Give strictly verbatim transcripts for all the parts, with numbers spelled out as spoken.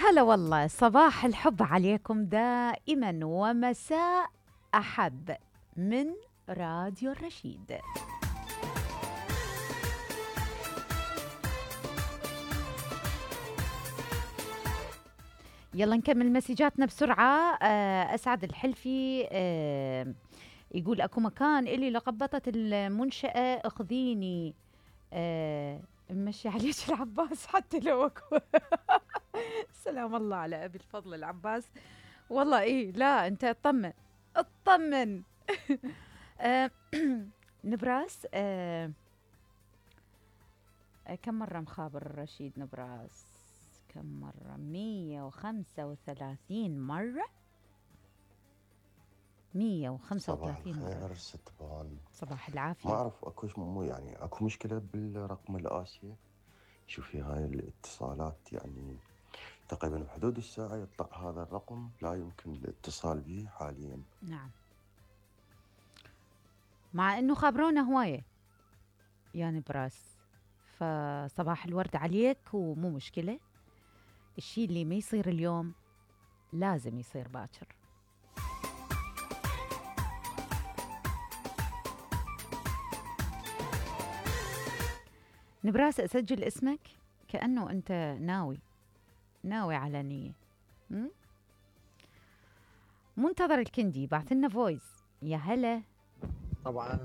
هلا والله، صباح الحب عليكم دائما ومساء أحب من راديو الرشيد. يلا نكمل مسجاتنا بسرعة. آه، أسعد الحلفي آه، يقول أكو مكان إلي لقبطة المنشأة اخذيني. آه، مشي عليك العباس حتى لو أكو. سلام الله على أبي الفضل العباس. والله إيه، لا أنت اطمن اطمن. آه، نبراس. آه، كم مرة مخابر الرشيد نبراس؟ كم مرة؟ مية وخمسة وثلاثين مرة. مية وخمسة وثلاثين مرة. صباح الخير ست بان. صباح العافية. ما أعرف أكوش مو يعني أكو مشكلة بالرقم الآسيا. شوفي هاي الاتصالات يعني تقريبا بحدود الساعة يطلع هذا الرقم لا يمكن الاتصال به حاليا. نعم، مع انه خبرونا هواية يعني براس. فصباح الورد عليك، ومو مشكلة. الشي اللي ما يصير اليوم لازم يصير باكر. نبراس، اسجل اسمك كأنه انت ناوي ناوي على نية. م? منتظر الكندي بعث لنا فويس. يا هلا. طبعا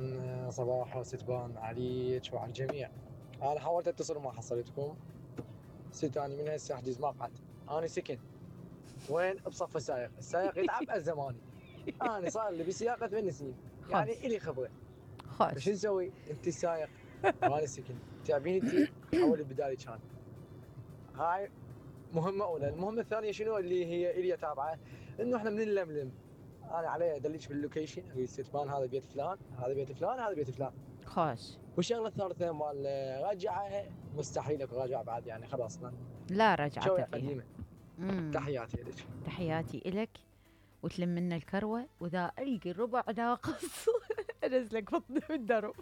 صباح وستبان عليك وعلى الجميع. انا حاولت اتصل وما حصلتكم. ست اني من هسه احجز مقعد. انا سكن وين؟ بصف السائق. السائق يتعب الزماني. انا صار لي بسياقه ثمان سنين يعني الي خبره. خوش. شو نسوي؟ انت السائق وانا سكن، تعبين انت حولي بدالي كان. هاي مهمه اولى. المهمه الثانيه شنو اللي هي الي تابعه؟ انه احنا من نلملم. انا علي ادلك باللوكيشن، اقول ستبان هذا بيت فلان، هذا بيت فلان، هذا بيت فلان. خوش. والشغله الثالثه مال رجعه، مستحيل اكو رجعه بعد يعني خلاص. لا رجعت شوية فيها. قديمه. مم. تحياتي لك. تحياتي إلك، وتلم منا الكروة، وإذا ألقي ربع ناقص أنزلك بطني بالدرب.